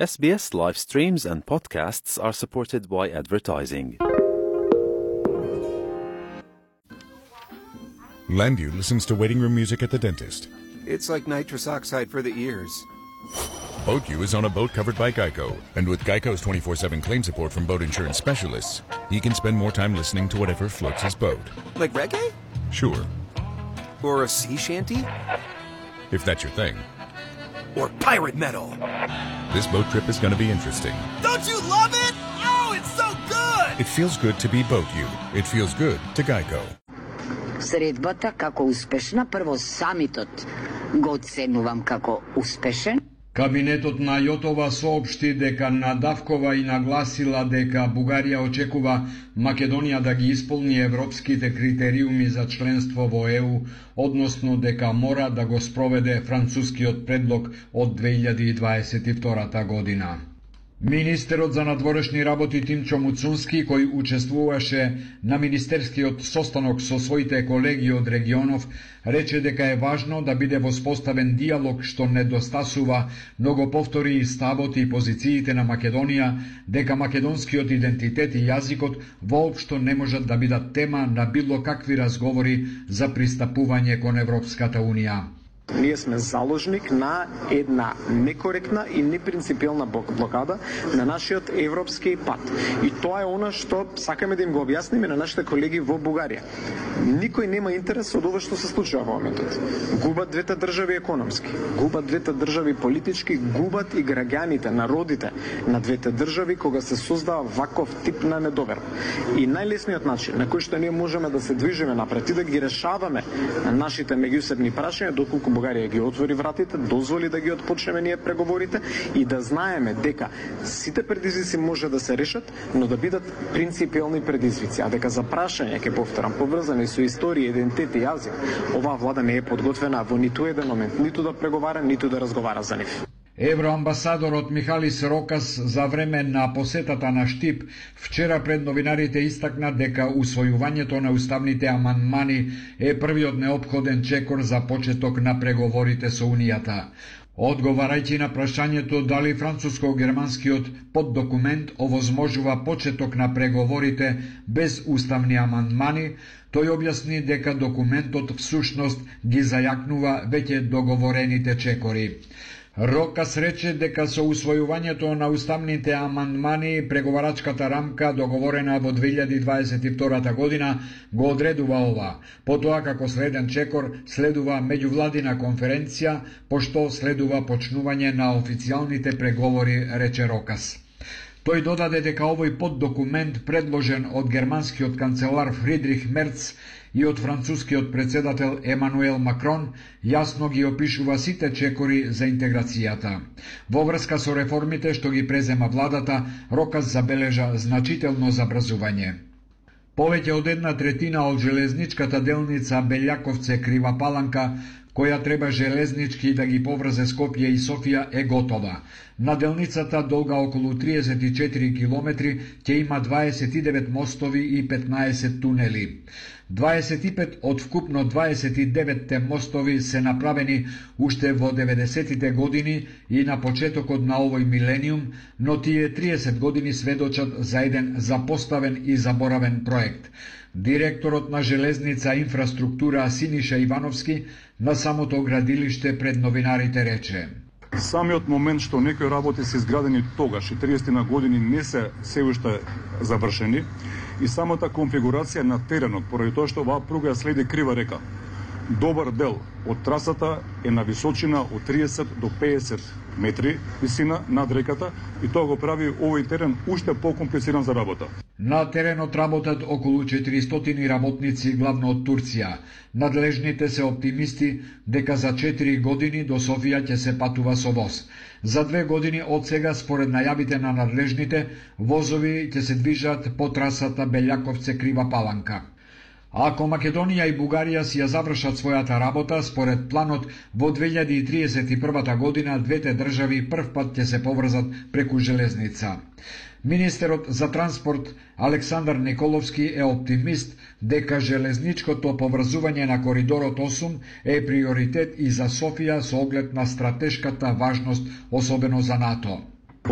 SBS live streams and podcasts are supported by advertising. Landview listens to waiting room music at the dentist. It's like nitrous oxide for the ears. BoatU is on a boat covered by Geico, and with Geico's 24/7 claim support from boat insurance specialists, he can spend more time listening to whatever floats his boat. Like reggae? Sure, Or a sea shanty? if that's your thing. Or pirate metal? This boat trip is going to be interesting. Don't you love it? Oh, it's so good! It feels good to be BoatU. It feels good to Geico. Средбата како успешна, прво самитот го оценувам како успешен. Кабинетот на Јотова соопшти дека надавкова и нагласила дека Бугарија очекува Македонија да ги исполни европските критериуми за членство во ЕУ, односно дека мора да го спроведе францускиот предлог од 2022 година. Министерот за надворешни работи Тимчо Муцунски, кој учествуваше на министерскиот состанок со своите колеги од регионов, рече дека е важно да биде воспоставен диалог што недостасува, но го повтори и ставот и позициите на Македонија, дека македонскиот идентитет и јазикот воопшто не можат да бидат тема на било какви разговори за пристапување кон Европската Унија. Ние сме заложник на една некоректна и непринципиелна блокада на нашиот европски пат. И тоа е она што сакаме да им го објасниме на нашите колеги во Бугарија. Никој нема интерес од ова што се случува во моментот. Губат двете држави економски, губат двете држави политички, губат и граѓаните, народите на двете држави кога се создава ваков тип на недоверба. И најлесниот начин на кој што ние можеме да се движиме напред и да ги решаваме нашите меѓусебни прашања, доколку Бугарија ги отвори вратите, дозволи да ги отпочнеме ние преговорите и да знаеме дека сите предизвици може да се решат, но да бидат принципиелни предизвици, а дека за прашање, ќе повторам, поврзани со историја, идентитет и јазик, оваа влада не е подготвена во ниту еден момент, ниту да преговара, ниту да разговара за нив. Евроамбасадорот Михалис Рокас за време на посетата на Штип вчера пред новинарите истакна дека усвојувањето на уставните амандмани е првиот неопходен чекор за почеток на преговорите со Унијата. Одговарајќи на прашањето дали француско-германскиот поддокумент овозможува почеток на преговорите без уставни амандмани, тој објасни дека документот всушност ги зајакнува веќе договорените чекори. Рокас рече дека со усвојувањето на уставните амандмани преговарачката рамка договорена во 2022 година го одредува ова. Потоа како следен чекор следува меѓувладина конференција, пошто следува почнување на официјалните преговори, рече Рокас. Тој додаде дека овој поддокумент предложен од германскиот канцелар Фридрих Мерц и од францускиот председател Емануел Макрон јасно ги опишува сите чекори за интеграцијата. Во врска со реформите што ги презема владата, Рокас забележа значително забрзување. Повеќе од 1/3 од железничката делница Белјаковце-Крива Паланка, која треба железнички да ги поврзе Скопје и Софија, е готова. На делницата долга околу 34 километри ќе има 29 мостови и 15 тунели. 25 од вкупно 29 мостови се направени уште во 90-тите години и на почетокот на овој милениум, но тие 30 години сведочат за еден запоставен и заборавен проект. Директорот на Железница инфраструктура Синиша Ивановски на самото градилиште пред новинарите рече: Самиот момент што некои работи се изградени тогаш и 30 на години не се се уште завршени и самата конфигурација на теренот, поради тоа што оваа пруга ја следи крива река. Добар дел од трасата е на височина од 30 до 50 метри висина над реката и тоа го прави овој терен уште покомплициран за работа. На теренот работат околу 400 работници, главно од Турција. Надлежните се оптимисти дека за 4 години до Софија ќе се патува со воз. За 2 години од сега, според најавите на надлежните, возови ќе се движат по трасата Белјаковце-Крива Паланка. Ако Македонија и Бугарија си ја завршат својата работа, според планот, во 2031 година двете држави првпат ќе се поврзат преку железница. Министерот за транспорт Александар Николовски е оптимист дека железничкото поврзување на коридорот 8 е приоритет и за Софија со оглед на стратешката важност, особено за НАТО.